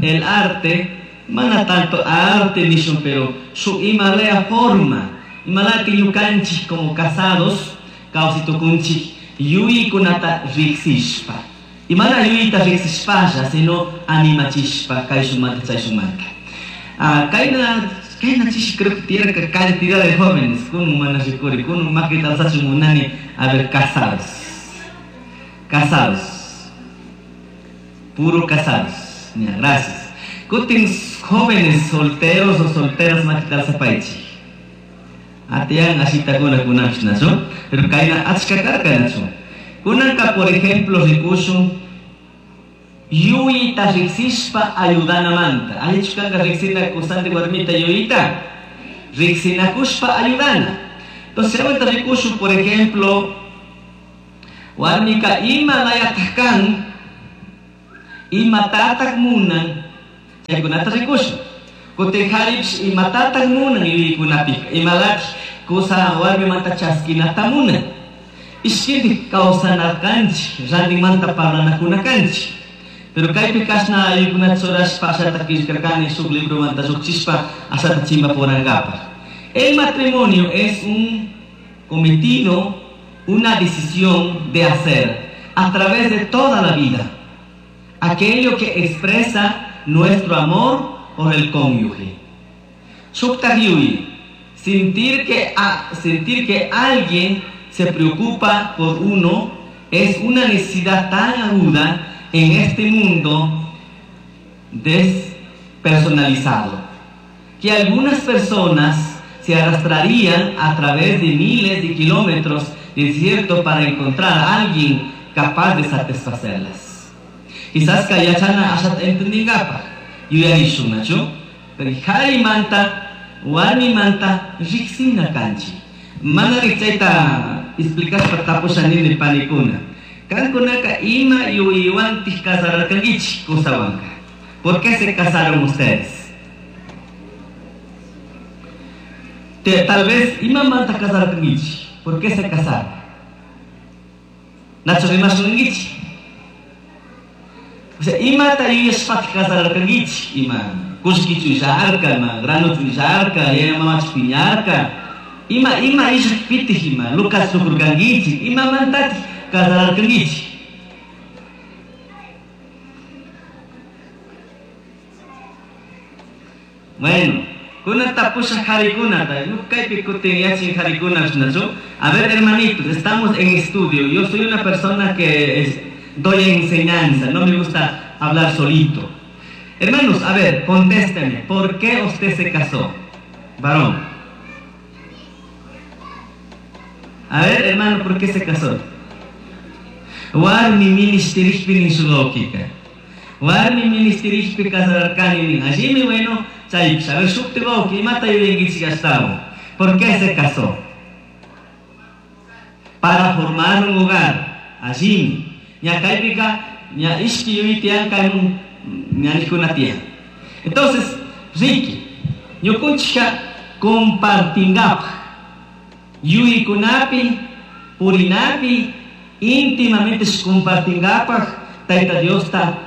El arte, mana tanto arte nishun, pero shuk imalaya forma, imalaya ñukanchik como casados, kawsay tukunchik yuyaykunata riqsishpa. Y mana yuyayta riqsishpalla, sino animachishpa, kayshunmanta chayshunmanta. Ah, kayna, kayna chishi creo que tiyarka cantidad de jóvenes, kunun mana rikuri, kunun makita alzachun munani, a ver, casados. Casados. Puro casados. Ya, gracias. Kutin jóvenes solteros o solteras makita alzapaychik. Atiyan ashitakuna kunapish nachu, pero kayna achka karka nachu. Kunanka, por ejemplo, rikushun yuyayta riqsishpa ayudanamanta. Allichu kanka riqsina kusanti warmita yuyayta? Riqsinakushpa ayudana. Entonces, chaymanta rikushun, por ejemplo, warmika ima layataj kan, imatataj munan, chaykunata rikushun. Kutin qharipish imatataj munan yuyaykunapika, imalapish kusa warmimanta chaskinata munan. Ishkindik kawsana kanchik, rantinmanta parlanakuna kanchik. Pero kaypi kashna yuyaykunata churashpa ashata qillqarkani shuk libromanta lluqchishpa ashata chimpapurankapaq. El matrimonio es un cometido, una decisión de hacer a través de toda la vida aquello que expresa nuestro amor por el cónyuge. Shuktaj yuyay, sentir que alguien se preocupa por uno es una necesidad tan aguda en este mundo despersonalizado, que algunas personas se arrastrarían a través de miles de kilómetros de desierto para encontrar a alguien capaz de satisfacerlas. Quizás kay yachana ashata entendingapaj yuyarishun, nachu? Pero qharimanta, warmimanta riqsina kanchik. Mana chayta explicashpa tapusha nini panikuna. Kankunaka ima yuyaywantik casararkankichik kusawanka. ¿Por qué se casaron ustedes? Tal vez imamanta casararkankichik. ¿Por qué se casaron? Nachu rimashunkichik. O sea, imata yuyashpatik casararkankichik? Ima kullkichu illarka, ima granuchu illarka, yaya mamachu piñarka. Ima ima illakpitik ima Lucas tukurkankichik, imamantatik casararkankichik? Bueno, kunan tapusha qharikunata, kaypi kutin yachin qharikuna nachu. A ver, hermanitos, estamos en estudio. Yo soy una persona que doy enseñanza, no me gusta hablar solito. Hermanos, a ver, contésteme, ¿por qué usted se casó? Varón. A ver, hermano, ¿por qué se casó? Warmi ministerishpi nin su lógica. Warmi ministerishpi casararkani nin. Allí bueno, chaypish. A ver, shukti wawqi, imata yuyankichik ashtawan. ¿Por qué se casó? Para formar un hogar. Allí. Ña kaypika, ña ishki yuyay tiyan kaymun ña niqkuna tiyan. Entonces, Ricky, ñukunchikka compartingapaj yuyaykunapi, purinapi, íntimamente compartingapaj Tayta Diosta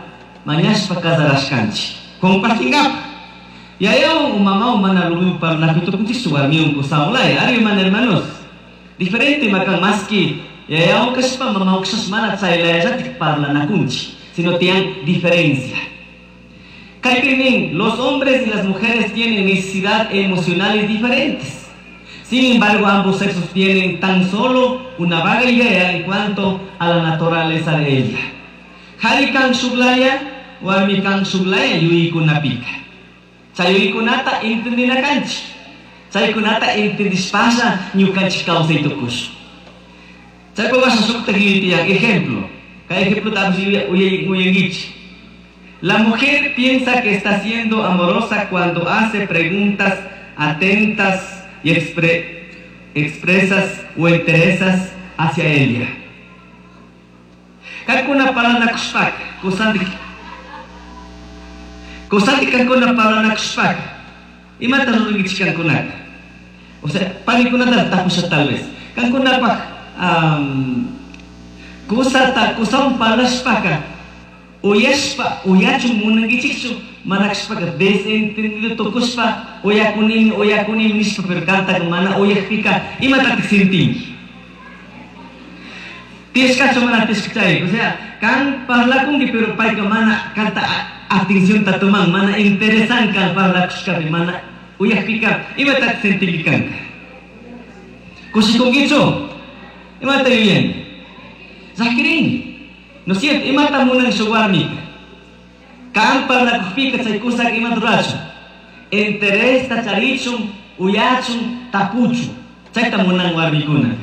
mañashpa casarashkanchik. Compartingapaj. Yayawan o mamawan mana lo mismo parlanakuy tukunchikchu warmiwan kusawan laya. Ari mana hermanos. Diferente makan maski yayawan kashpa mamawan kashpa mana chaylayallatik parlanakunchik, sino tiyan diferencia. Kaypi nin, los hombres y las mujeres tienen necesidades emocionales diferentes. Sin embargo, ambos sexos tienen tan solo una vaga idea en cuanto a la naturaleza de ella. Qhari kan shuklaya, warmi kan shuklaya yuyaykunapika. Chay yuyaykunata entendina kanchik. Chaykunata entendishpalla ñukanchik kawsay tukushun. Chaypa washa shukta yuyay tiyan. Ejemplo. Kay ejemplo uyankichik. La mujer piensa que está siendo amorosa cuando hace preguntas atentas y expresas o interesas hacia ella. Kankuna parlanakushpaka, kusantik, kusantik kankuna parlanakushpaka, imata rurankichik kankunaka? O sea, panikunata tapusha tal vez. Kankunapaj kusata, kusawan parlashpaka, Uyashpa uyachun munankichikchu, mana kashpaka desentendido tukushpa uyakunimi uyakunimi nishpa, pero kantaka mana uyakpika imatatik sintinki? Tiyashkachu mana tiyashka chay? O sea, kan parlakunki pero payka mana kanta atencionta toman, mana interesan kan parlakushkapi, mana uyakpika imatatik sintinki kanka? Kushikunkichu? Imata yuyanki? Llakirinki. ¿No es cierto? Imata munan shuk warmika? Kan parlakukpika chay kusaka imata rurachun? Interesta charichun, uyachun, tapuchun. Chayta munan warmikuna.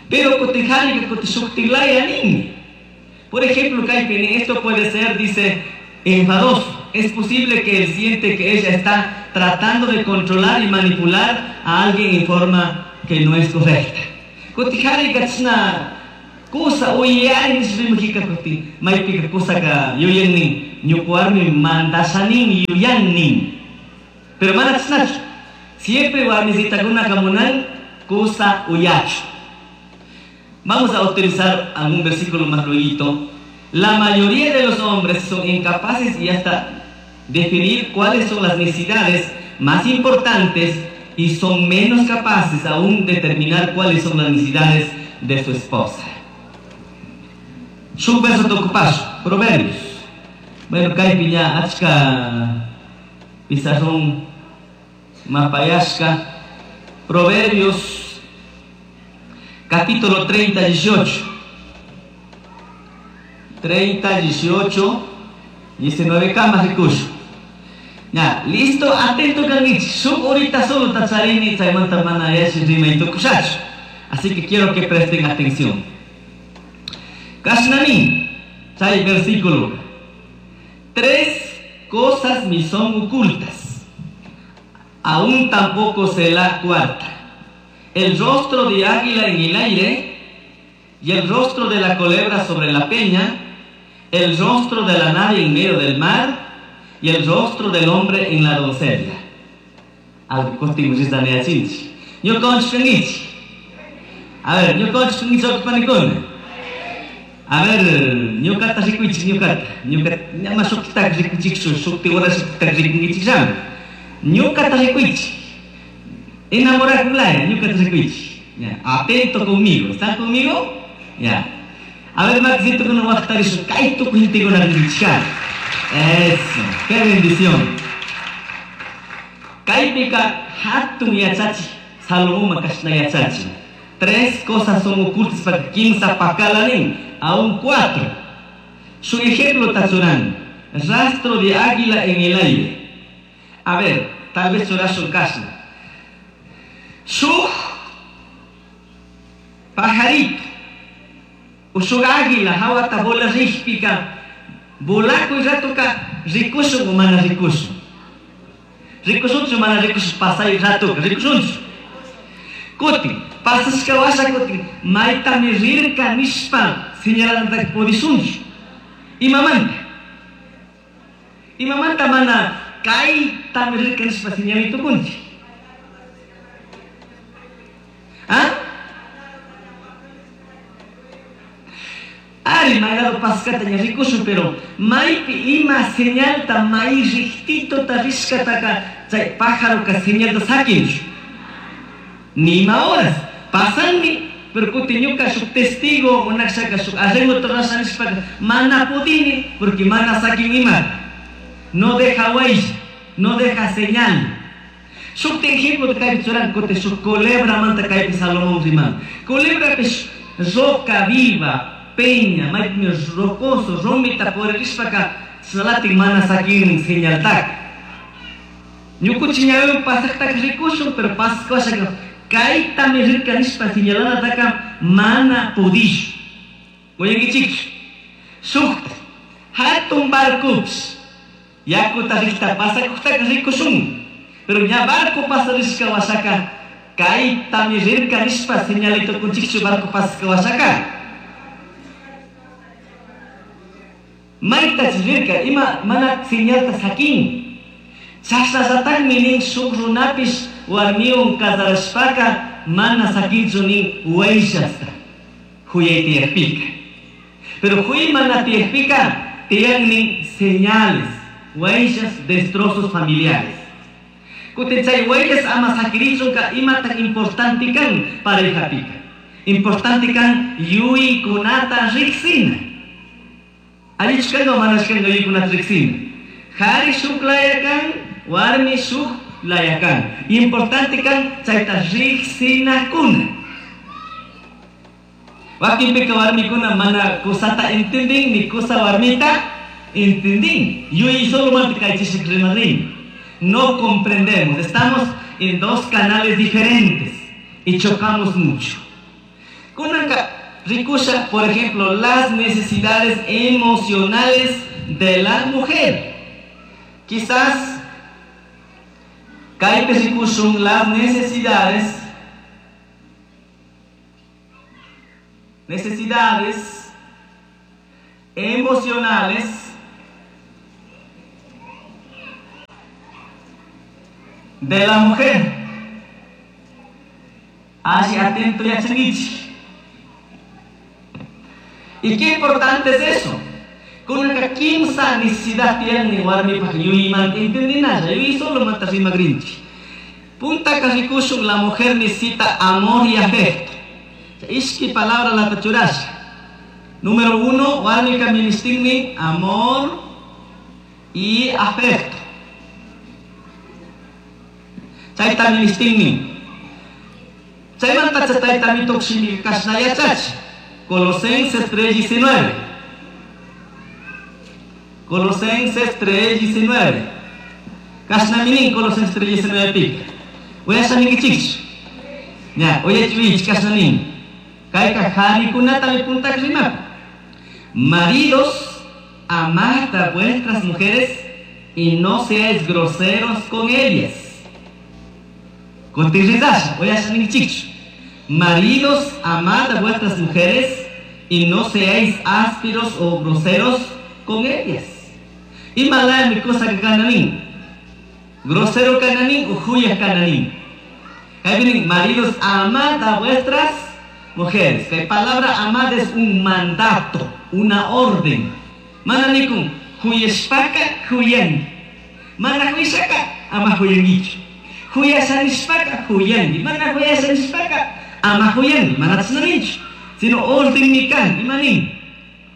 Pero kutin harika kutin shuktilaya ninmi. Por ejemplo, kaypi nin, esto puede ser, dice, enfadoso. Es posible que él siente que ella está tratando de controlar y manipular a alguien en forma que no es correcta. Kutin harika chashna kusa uyari nishpa rimajika kutin maypika kusaka yuyan nin, ñuka warmi mandashanin yuyan nin. Pero mana chashnachu. Siempre warmisitakunaka munan kusa uyachu. Vamos a utilizar algún versículo más luego. La mayoría de los hombres son incapaces y hasta definir cuáles son las necesidades más importantes y son menos capaces aún de determinar cuáles son las necesidades de su esposa. Shuk verso tukupash, Proverbios. Bueno, kaypi ña achka pizarrón mapayashka. Proverbios capítulo 30, 18. 30, 18, 19 kamas rikush. Ya, listo, atento kangichik. Shuk horita solo tacharini, chaymanta mana yashi rimay tukushachu. Así que quiero que presten atención. Kashnani, chay versículo. Tres cosas me son ocultas. Aún tampoco sé la cuarta. El rostro de águila en el aire y el rostro de la culebra sobre la peña, el rostro de la nave en medio del mar y el rostro del hombre en la doncella. Algo kutin rizaneyachinchik. Ñukanchik kankichik. A ver, ñukanchik kankichik panikuna. A ver, ñukata rikuychik ñukata. Ñuka ñama shukta rikuychikchu, shukti hora shukta rikunkichikllami. Ñukata rikuychik. Enamorakunlaya, ñukata rikuychik. Ya, atento conmigo. ¿Están conmigo? Ya. A ver, Maxito, kuna waqtarishu kay tukuy gentekuna rinkichikani. Eso, qué bendición. Kaypika hatun yachachik, Salomón kashna yachachin. Tres cosas son ocultas para kimsa pakala nin, aún cuatro. Su ejemplo tachuran, rastro de águila en el aire. A ver, tal vez churashun kashna. Shuk pajarito, o shuk águila, hawata bola rikpika, volakuy ratoka rikushun o mana rikushun. Rikushunchu mana rikushun pasay ratoka, rikushunchu. Kutin, pasashka washa kutin, maytami rirka nishpa señalanta pudishunchu. Imamanta? Imamanta mana kaytami rirka nishpa señalay tukunchik. ¿Ah? Ari, maylado paskata ña rikushun, pero maypi ima señalta may riktitota rishkataka chay pájaroka señalta sakinchu. Ni ima horas. Pasanmi, pero kutin ñuka shuk testigo unakshaka shuk arreglo rurasha nishpaka mana pudini porque mana sakin ima. No deja huella, no deja señal. Shuk ejemplo kaypi churan kutin shuk culebra manta kaypi Salomón riman. Culebra pish roca viva, peña, maypimi rocoso, rumita puririshpaka salatin mana sakin señaltaka. Ñukuchi ñawiwan pasaqtaka rikushun, pero pasaq washaka kaytami rirka nishpa señalanataka mana pudishu. Uyankichikchu. Shukta, hatun barcopish yakuta rikta pasakuqtaka rikushun, pero ña barco pasarishka washaka kaytami rirka nishpa señalay tukunchikchu barco pasashka washaka. Maytach rirka ima mana señalta sakin. Chashnallatakmi nin shuk runapish warmiwan casarashpaka mana sakinchu nin huellasta huyay tiyakpika. Pero huy mana tiyakpika Tiyanmi señales, huellas, destrozos familiares. Kutin chay huellas ama sakirichunka imataq importante kan parejapika. Importante kan yuyaykunata riqsina. Allichu kanka o manachu kanka yuyaykunata riqsina. Qhari shuk laya kan, warmi shuk laya kan. Importante kan chayta riqsinakuna. Wakinpika warmikuna mana kusata entendin ni kusa warmita entendin. Yuyay solomanta kaychishik rimarin. No comprendemos. Estamos en dos canales diferentes y chocamos mucho. Kunanka rikusha, por ejemplo, las necesidades emocionales de la mujer. Quizás kaypi rikushun las necesidades emocionales de la mujer. Así atento yachankichik. ¿Y qué importante es eso? Kunanka kimsa necesidad tiene warmipaj yuyaymanta entendinalla, yuyay solomanta rimagrinchik. Puntaka rikushun la mujer necesita amor y afecto. Ishki palabra la churasha. Número 1, warmika ministinmi amor y afecto. Chayta ministinmi. Chaymanta tayta mitoq shimi kashna yachachi. Colosenses 3:19. Colosenses 3:19. Kashna minin Colosenses 3:19 pika. Uyasha ninkichikchu. Ña, uyachwich kashna nin. Kayka qharikunata puntak rimapa. Maridos, amad a vuestras mujeres y no seáis groseros con ellas. Kutin uyasha ninkichikchu. Maridos, amad a vuestras mujeres y no seáis ásperos o groseros con ellas. Ima mi cosa que kananin. Grosero kananin o huyas kananin. Maridos, amad a vuestras mujeres. La palabra amad es un mandato, una orden. Mana nikun, huyashpaka huyangi. Mana huyashaka ama huyangichu. Huyashanishpaka huyangi. Mana huyashanishpaka ama huyangi. Mana chashna Sino orden mi kan, ima nin,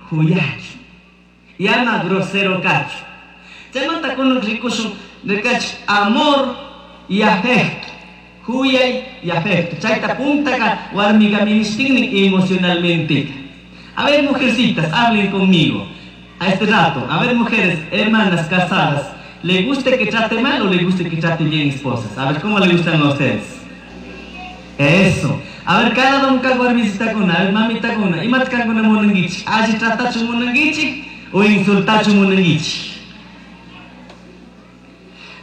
huyachu. Y ama grosero kachu. Chaymanta kunan rikushun rikach amor y afecto. Huyay y afecto. Chayta puntaka warmika ministinmi emocionalmente. A ver, mujercitas, hablen conmigo a este rato. A ver, mujeres, hermanas casadas, ¿le gusta que trate mal o le gusta que trate bien esposas? A ver, ¿cómo le gustan a ustedes? Eso. A ver, cada donka warmisitakuna, a ver, mamitakuna, imata kankuna munankichik? Alli tratachu munankichik o insultachu munankichik?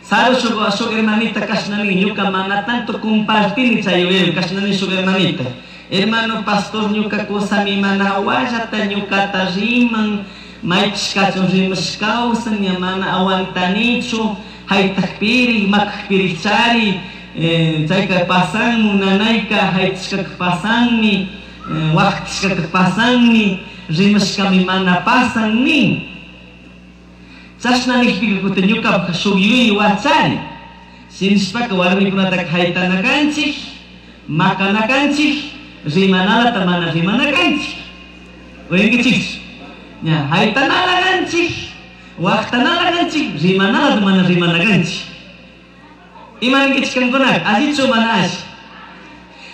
Saru shuk hermanita kashna nin, ñuka mana tanto compartini chay yuyaywan kashna nin shuk hermanita. Hermano pastor, ñuka kusami mana wallata ñukata riman, maypishkachun rimash kawsan, ña mana aguantanichu, haytakpiri, makakpiri chari, chayka pasanmu, nanayka haytishkaka pasanmi, waqtishkaka pasanmi, rimashkami mana pasan nin. Chashna nikpika kutin ñukapaj shuk yuyay wachari. Shinashpaka warmikunataka haytana kanchik, makana kanchik, rimanalata mana rimana kanchik. Uyankichikchu? Ña, haytanala kanchik, waqtanala kanchik, rimanalata mana rimana kanchik. Ima ninkichik kankunaka? Allichu mana alli?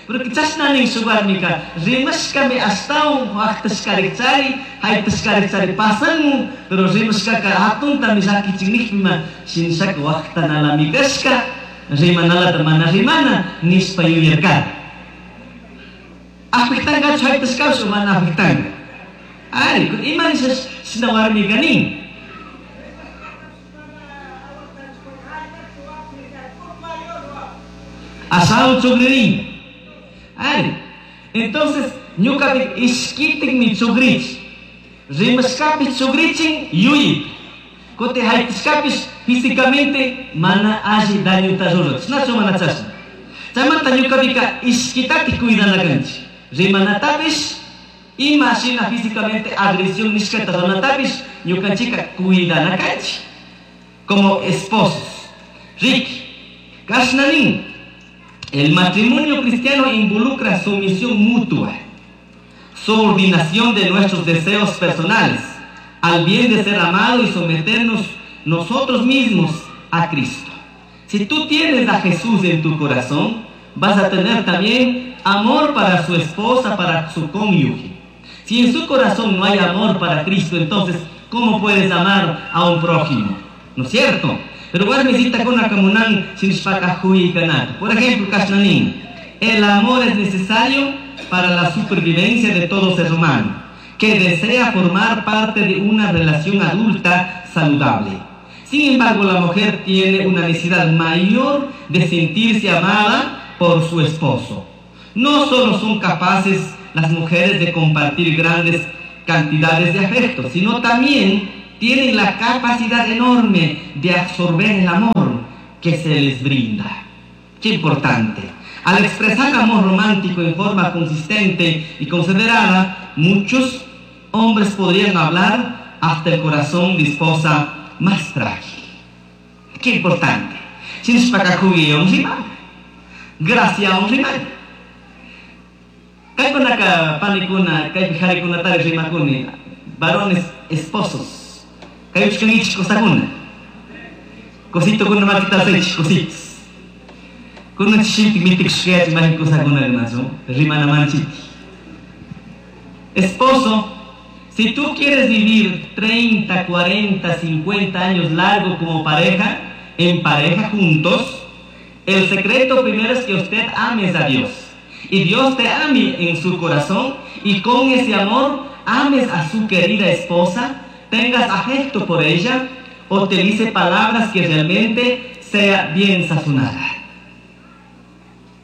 Porque chashna nin shuk warmika, rimashkami ashtawan waqtashkarik chari, haytashkarik chari pasanmu, pero rimashkaka hatuntami llakichin nikpima, shinashaka waqtanalami kashka, rimanalata mana rimana, nishpa yuyarkani. Afectangachu haytashkapish o mana afectanga? Ari, ima nisha shina warmika nin? Asado chugririn. Ari. Entonces, ñukapi ishkitikmi chugrichi. Rimashkapish chugrichin yuyaypi. Kutin haytashkapish físicamente mana alli dañuta ruran. Chashnachu mana chashna. Chaymanta ñukapika ishkitatik cuidana kanchik. Rimanatapish, ima shina físicamente agresión nishkata runatapish Ñukanchika cuidana kanchik como esposos. Riqui, kashna nin, el matrimonio cristiano involucra sumisión mutua, subordinación de nuestros deseos personales, al bien de ser amado y someternos nosotros mismos a Cristo. Si tú tienes a Jesús en tu corazón, vas a tener también amor para su esposa, para su cónyuge. Si en su corazón no hay amor para Cristo, entonces, ¿cómo puedes amar a un prójimo? ¿No es cierto? Pero warmisitakuna munan shinashpaka kanata. Por ejemplo, kashna nin, el amor es necesario para la supervivencia de todo ser humano que desea formar parte de una relación adulta saludable. Sin embargo, la mujer tiene una necesidad mayor de sentirse amada por su esposo. No solo son capaces las mujeres de compartir grandes cantidades de afecto, sino también tienen la capacidad enorme de absorber el amor que se les brinda. Qué importante. Al expresar amor romántico en forma consistente y considerada, muchos hombres podrían hablar hasta el corazón de esposa más frágil. Qué importante. Gracias. Kaykunaka panikuna, kaypi qharikunatari rimakuni, varones esposos. Kayuchkankichik qusakuna. Qusitokuna makita alzaychik qusitos. Kunan chishipi mitikushkayachik mayqin qusakuna rimachu, rimanamanchik. Esposo, si tú quieres vivir 30, 40, 50 años largo como pareja, en pareja juntos, el secreto primero es que usted ames a Dios. Y Dios te ame en su corazón y con ese amor ames a su querida esposa, tengas afecto por ella, utilice palabras que realmente sea bien sazonada.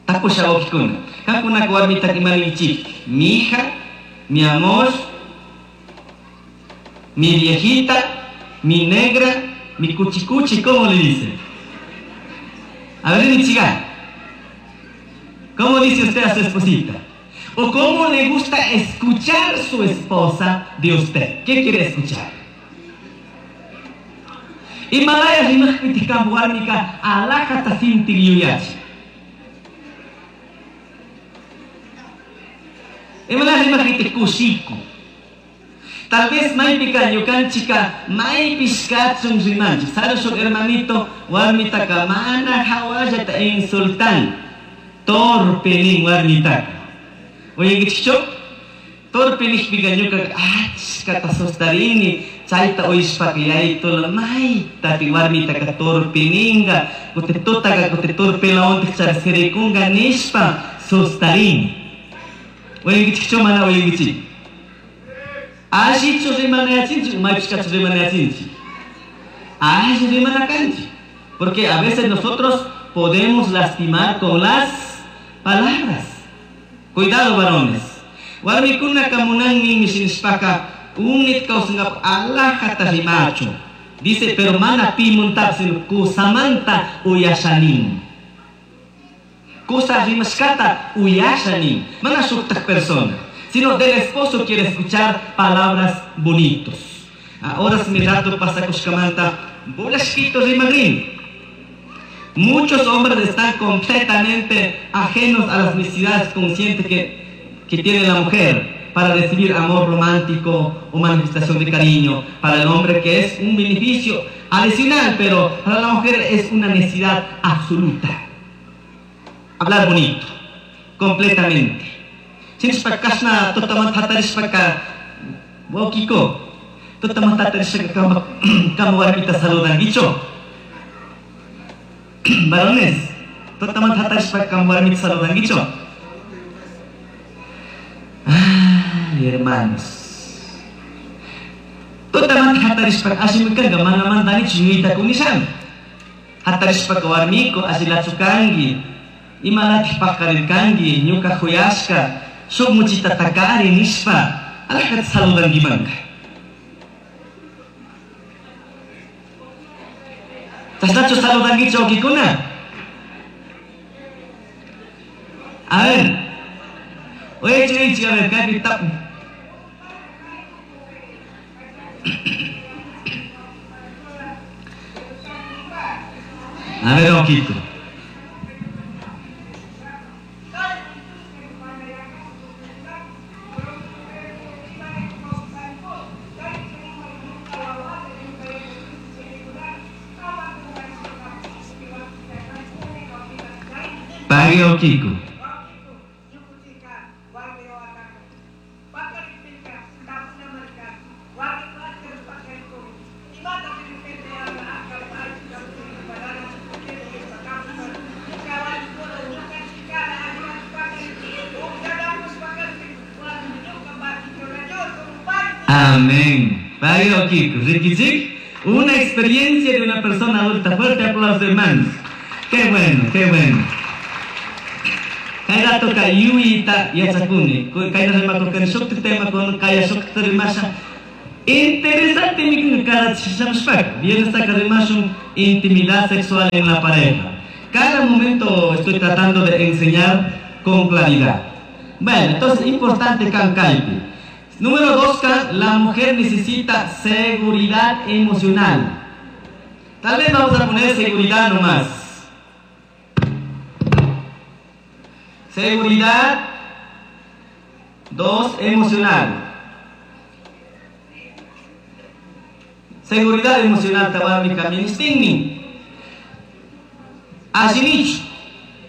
Tapusha wawqikuna. Qamkunaka warmitaka ima ninkichik. Mi hija, mi amor, mi viejita, mi negra, mi cuchicuchi, ¿cómo le dice? A ver, mi chica, ¿cómo dice usted a su esposita? ¿O cómo le gusta escuchar su esposa de usted? ¿Qué quiere escuchar? Imalaya rimaqpitik qampa warmika alhajata sintin yuyachi. Imalaya rimaqpitik kushiku. Tal vez maypika ñukanchika maypish kachun rimanchik. Sarashuk hermanito warmitaka mana hawallata insultan. Torpe nin warmitaka. Uyankichikchu? Torpe nishpika ñukaka achkata sustarini. Chayta uyashpaka yayitula maytati warmitaka torpe ninga. Kutin tutaka kutin torpelawantik charisirikunga nishpa sustarini. Uyankichikchu mana uyankichik? Allichu rimanayachinchik, maypish kachun rimanayachinchik. Alli rimana kanchik. Porque a veces nosotros podemos lastimar con las palabras. Cuidado, varones. Warmikunaka munanmi shinashpaka unit kawsangapaq alhajata rimachu. Dice, pero mana pimuntapish, sino kusamanta uyashanin. Kusa rimashkata uyashanin. Mana shuktak persona, sino del esposo quiere escuchar palabras bonitos. Ahora si mi rato pasakushkamanta, bolashkito rimagrin. Muchos hombres están completamente ajenos a las necesidades conscientes que tiene la mujer para recibir amor romántico o manifestación de cariño. Para el hombre que es un beneficio adicional, pero para la mujer es una necesidad absoluta. Hablar bonito, completamente. Shinashpa kashna tutamanta hatarishpaka wawqiko, tutamanta hatarishpaka kama warmita saludankichu. Varones, tutamanta hatarishpaka kama warmita saludankichu. Ay, hermanos. Tutamanta hatarishpaka allimi kanka mana mandanichu yuyayta kunishan. Hatarishpaka warmiko allilachu kanki, imalatik paqarirkanki, ñuka khuyashka, shuk muchita takari nishpa, alhajata saludankimanka. Chashnachu saludankichu wawqikuna? A ver. Oye, a ver, kaypi tap. A ver, Oquito. Pague Oquito. Amén. Pague Oquito. Riquichic. Una experiencia de una persona adulta. Fuerte aplauso, hermanos. Qué bueno, qué bueno. Kay rato ka yuyita yachakuni. Kay rimakurkani shukti tema con kaya shukti rimasha. Interesante mi cada shamshpak. Viernes saca rimashun intimidad sexual en la pareja. Cada momento estoy tratando de enseñar con claridad. Bueno, entonces importante kan kaypi. Número 2, la mujer necesita seguridad emocional. Tal vez vamos a poner seguridad nomás. Seguridad, 2, emocional. Seguridad emocional, tawarmi kaministinmi. Asinichu,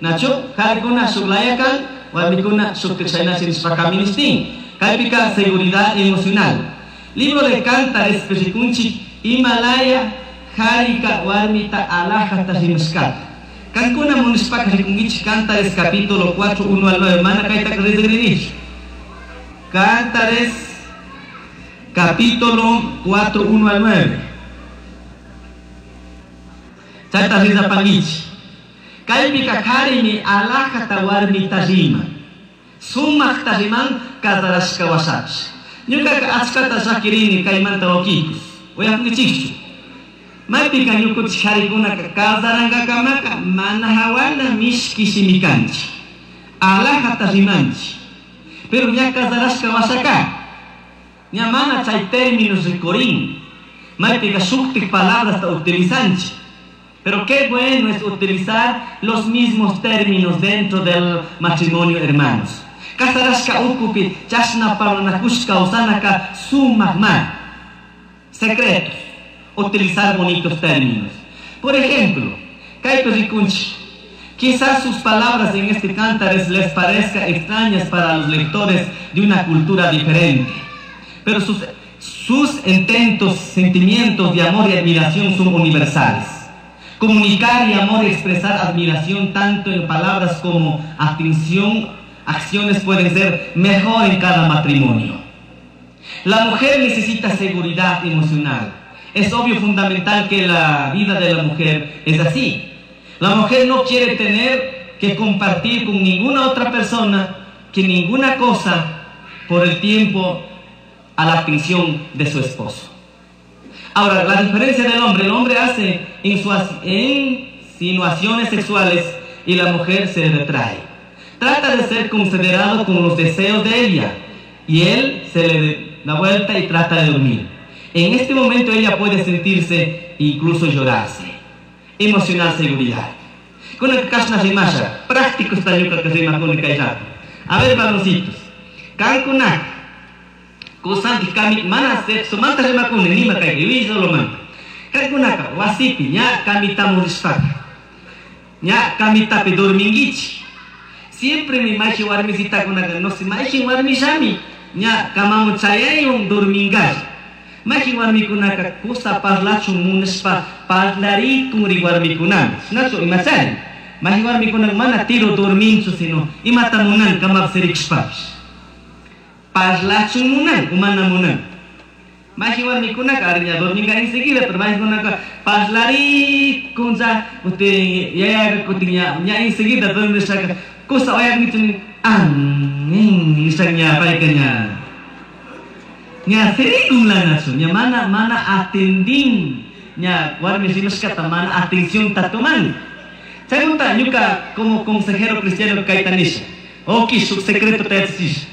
nacho, karikuna shuklayakan, warmikuna shuktichaynachinispa kaministin. Kaypika seguridad emocional. Libro de Cántares, Peshikunchi, Himalaya, Jarika, warmita, alhaja, rimashkata. Kankuna munishpaka rikunkichik Cántares capítulo 4, 1 al 9. Mana kayta rizinich. Cántares capítulo 4, 1 al 9. Chayta rizapankichik. Kaypika karimi alhajata warmita rima. Sumaqta riman kasarashka washapish. Ñukaka achkata llakirini kaymanta wakikus. Uyakunkichikchu. Maypika ñukuchik harikunaka kasarankakamaka mana hawana mishki shimi kanchik. Alhajata rimanchik. Pero ña kasarashka washaka. Ña mana chay términos rikurin. Maypika shuktik palabrasta utilizanchik. Pero qué bueno es utilizar los mismos términos dentro del matrimonio, hermanos. Kasarashka ukupi chashna parlanakushka usanaka sumak ma. Secretos. Utilizar bonitos términos. Por ejemplo, kaypi rikunchik. Quizás sus palabras en este Cántares les parezca extrañas para los lectores de una cultura diferente. Pero sus intentos, sentimientos de amor y admiración son universales. Comunicar y amor y expresar admiración tanto en palabras como atención, acciones pueden ser mejor en cada matrimonio. La mujer necesita seguridad emocional. Es obvio, fundamental que la vida de la mujer es así. La mujer no quiere tener que compartir con ninguna otra persona, que ninguna cosa, por el tiempo a la atención de su esposo. Ahora, la diferencia del hombre, el hombre hace insinuaciones sexuales y la mujer se retrae. Trata de ser considerado con los deseos de ella y él se le da vuelta y trata de dormir. En este momento ella puede sentirse incluso llorarse. Emocional seguridad. Con el kashna rimasha, práctico está ñuka que rima con el kayrato. A ver, varoncitos. Kankuna, kusanti kami mana sexo manta rima con el nima kay solo manta. Kankunaka wasipi ña kamita murishpaka. Ña kamitapi dormingichi. Siempre mi machi warmisita kunaka no si machi warmishami ña kamamu chayayun dormingash. Machi warmikunaka kusa parlachun munishpa parlarikun ri warmikunami. Shinachu imachari. Machi warmikunaka mana tiro dorminchu sino imata munan kamap sirikshpapish. Parlachun munan umana munan. Machi warmikunaka ariña dorminga enseguida, pero machi kunaka parlarikun ja kutin yaya kutin ña enseguida dormishaka kusa oyak amin nishaka ña payka ña. Ña sirikun lanachu, ña mana mana atendin, ña warmi rimashkata mana atención tatuman. Chaymanta ñuka como consejero cristiano kayta nisha. Oki shuk secreto ta yachachisha.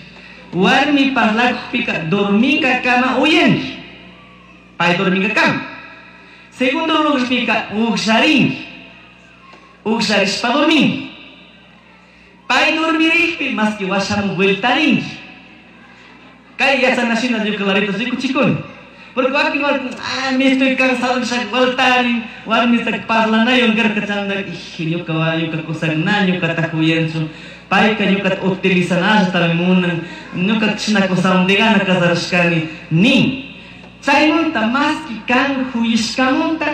Warmi parlakpika dorminka kama uyanki. Pay dorminka kama. Segundo lugapika uksharinki. Ugllarishpa dorminki. Pay dormirikpi maski washaman vueltarinki. Kay yachanashina ñuka clarito rikuchikuni. Porque wakin warmi, ah, me estoy cansado nishaka vueltarin, warmita parlanayon karka chanda, ij, ñuka ñuka kusak na ñukata kuyanchu, payka ñukata utilizanallatami munan, ñuka chishna kusawan degana casarashkani, nin. Chaymanta maski kan juyishkamanta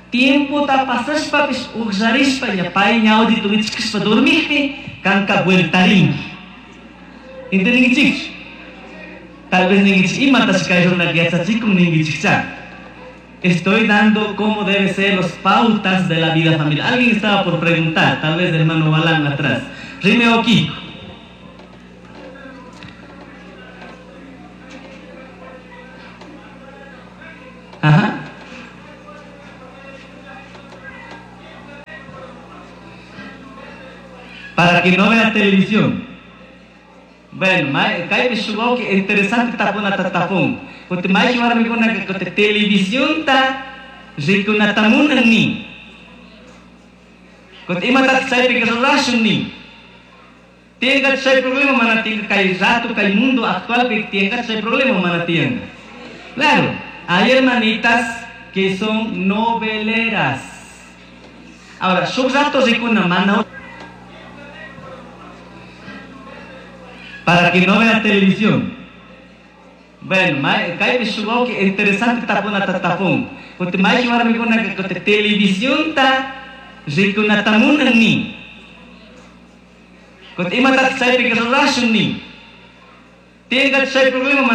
tiempota pasashpapish ugllarishpa ña pay ñawdito wichkashpa dormikpi kanka vueltarinki. ¿Entendinkichikchu? Tal vez ninkichik imatashi kay runaka yachachikun ninkichikcha. Estoy dando cómo debe ser los pautas de la vida familiar. Alguien estaba por preguntar, tal vez hermano Balán atrás. Rime Kiko. Ajá. Para que no vea televisión. Bueno, kaypi shuk wawki interesante tapunata tapun. Kuti mayqin warmikunaka kuti televisionta rikunata munan nin. Kuti imatataq chaypika rurashun nin. Tiyankachu chay problema mana tiyanka kay rato kay mundo actualpi tiyankachu chay problema mana tiyanka. Claro, hay hermanitas que son noveleras. Ahora, shuk rato rikuna mana para que no vea televisión. Bueno, kaypi shuk wawki interesante tapunata tapun. Kuti mayqin warmikunaka kuti televisionta rikunata munan nin. Kuti imatataq chaypika rurashun nin. Tiyankachu chay problema.